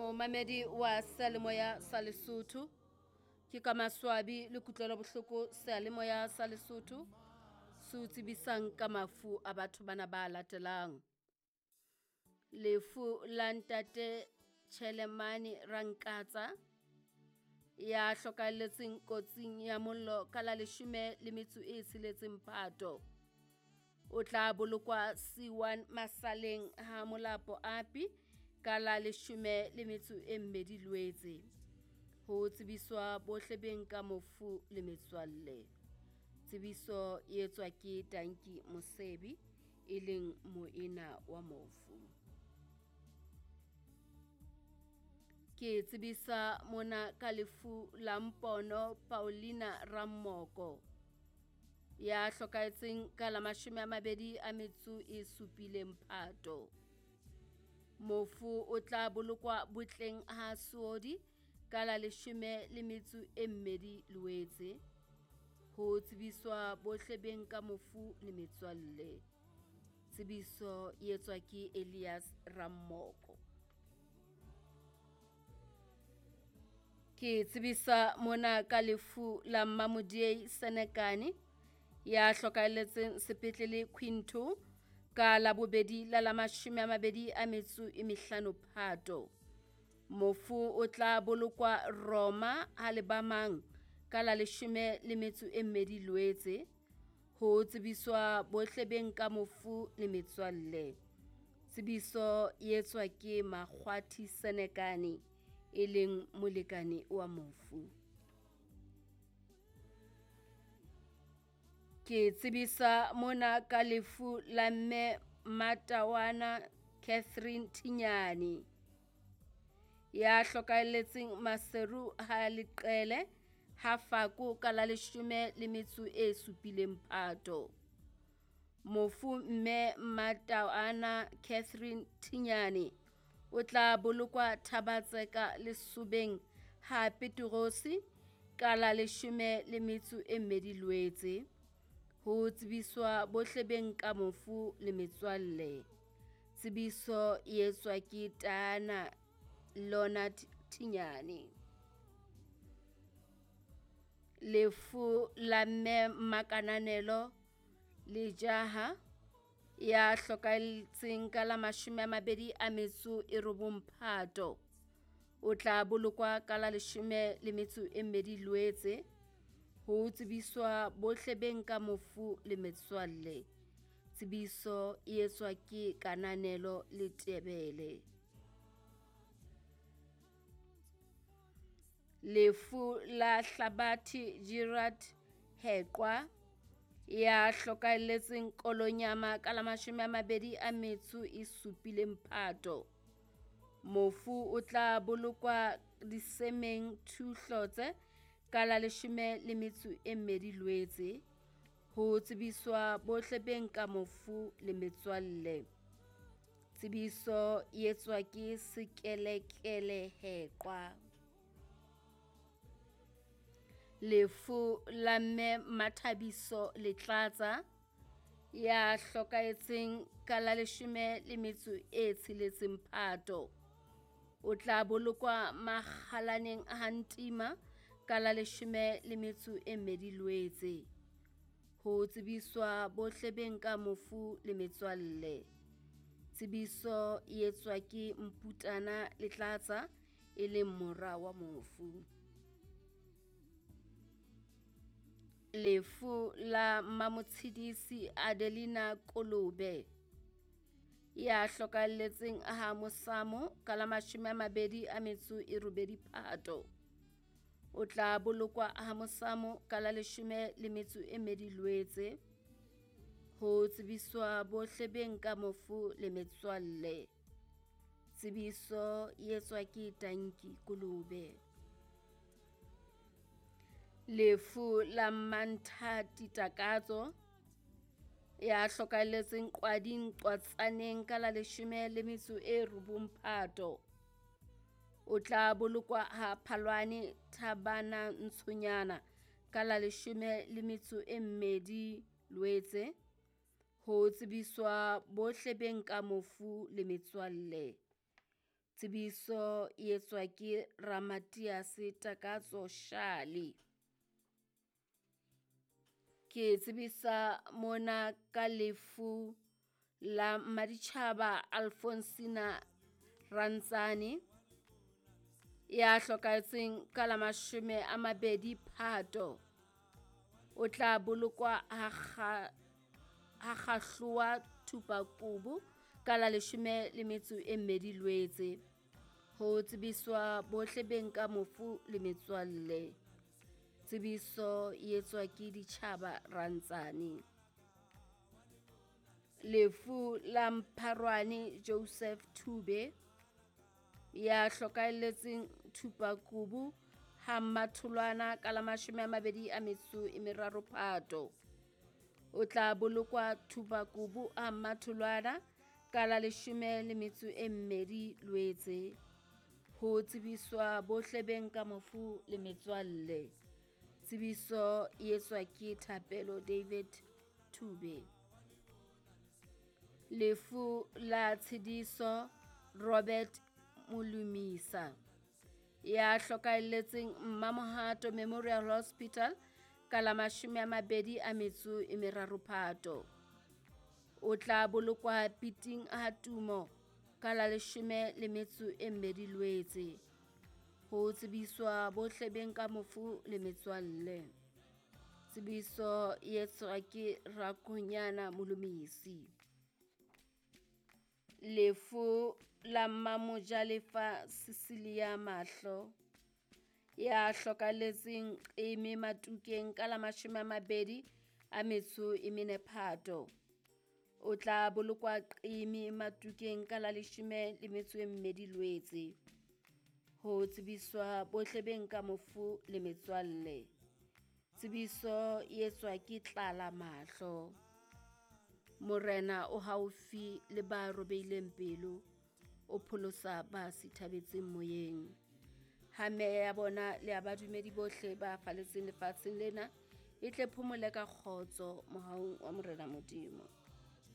Momamedi wa Seyalemoya sa Lesotho, ke ka maswabi le kutlwelo bohloko Seyalemoya sa Lesotho se o tsebisang ka mafu a batho bana ba latelang. Lefu la ntate Tjhelemane Rankatsa ya hlokahelletseng kotsing ya mollo ka la 16 Phato. O tla bolokwa C1 Masaleng ha Molapo Api ka la 12 Loetse. Ho tsebiswa bohle beng ka mofu le metswalle. Tsebiso e etswa ke Tanki Mosebi e leng moena wa mofu. Ke tsebisa mona ka lefu la Mpono Paulina Rammoko ya hlokahetseng ka la 27 Phato. Mofu o tla bolokwa botleng ha Seodi ka la 12 Loetse. Ho tsebiswa bohle beng ka mofu le metswalle. Tsebiso e etswa ke Elias Rammoko. Ke tsebisa mona ka lefu la Mmamodiei Senekane ya hlokahelletseng sepetlele Quinto ka la bobedi la la 25 Phato. Mofu o tla bolokwa Roma ha Lebamang ka la 12 Loetse. Ho tsebiswa bohle beng ka mofu le metswalle. Tsebiso e etswa ke Makgwathi Senekane e leng molekane wa mofu. Ke tsebisa mona ka lefu la mme Matawana Catherine Thinyane ya hlokahelletseng Maseru ha Leqele ha Fako ka la 17 Phato. Mofu mme Matawana Catherine Thinyane o tla bolokwa Thabatseka Lesobeng ha Peterosi ka la 12 Loetse. Ho tsebiswa bohle beng ka mofu le metswalle. Tsebiso e etswa ke Tana Leonard Thinyane. Lefu la mme Makananelo Lejaha ya hlokahetseng ka la 29 Phato. O tla bolokwa ka la 12 Loetse. Ho tsebiswa bohle beng ka mofu le metswalle. Tsebiso e etswa ke Kananelo Letebele. Lefu la Hlabathi Gerard Heqwa ya hlokahelletseng Kolonyama ka la 27 Phato. Mofu o tla bolokwa Disemeng Thuhlotse ka la 12 Loetse. Ho tsebiswa bohle beng ka mofu le metswalle. Tsebiso e etswa ke Sekelekele Heqwa. Lefu la mme Mathabiso Letlatsa ya hlokahetseng ka la 16 Phato. O tla bolokwa Makgalaneng ha Ntima ka la 12 Loetse. Ho tsebiswa bohle beng ka mofu le metswalle. Tsebiso e etswa ke Mputana Letlatsa e leng mora wa mofu. Lefu la Mamotshidisi Adelina Kolobe ya hlokahelletseng ha Mosamo ka la 28 Phato. O tla bolokwa ha Mosamo ka la 12 Loetse. Ho tsebiswa bohle beng ka mofu le metswalle. Tsebiso e etswa ke Tanki Kolobe. Lefu la Manthati Takatso ya hlokahelletseng Qwading Qwatsaneng ka la 19 Phato. O tla bolokwa ha Phalwane Thabana Ntshonyana ka la 12 Loetse. Ho tsebiswa bohle beng ka mofu le metswalle. Tsebiso e etswa ke Ramatiase Takatso Shale. Ke tsebisa mona ka lefu la Mmaditjhaba Alfonsina Rantsane ya hlokahetseng ka la 20 Phato. O tla bolokwa ha kgahlowa Thupakubu ka la 12 Lwetse. Ho tsebiswa bohle beng ka mofu le metswalle. Tsebiso e etswa ke Ditjhaba Rantsane. Lefu la Mpharwane Joseph Thube ya hlokahelletseng Thupakubu ha Mmatholwana ka la 23 Phato. O tla bolokwa Thupakubu ha Mmatholwana ka la 12 Lwetse. Ho tsebiswa bohle beng ka mofu le metswalle. Tsebiso e etswa ke Thapelo David Thube. Lefu la Tshediso Robert Molumisa ya hlokahelletseng Mmamohato Memorial Hospital ka la 23 Phato. O tla bolokwa Piting ha Tumo ka la 12 Lwetse. Ho tsebiswa bohle beng ka mofu le metswalle. Tsebiso e etswa ke Rakonyana Molumisi. Lefu la Mmamojalefa Cecilia Mahlo ya hlokahelletseng Qeme Matukeng ka la 24 Phato. O tla bolokwa Qeme Matukeng ka la 12 Lwetse. Ho tsebiswa bohle beng ka mofu le metswalle. Tsebiso e etswa ke Tlala Mahlo. Morena o haufi le ba robehileng pelo, o pholosa ba sithabetseng moyeng. Ha meya ya bona le ya badumedi bohle ba faletseng lefatsheng lena e tle phomole ka kgotso mohaung wa Morena Modimo.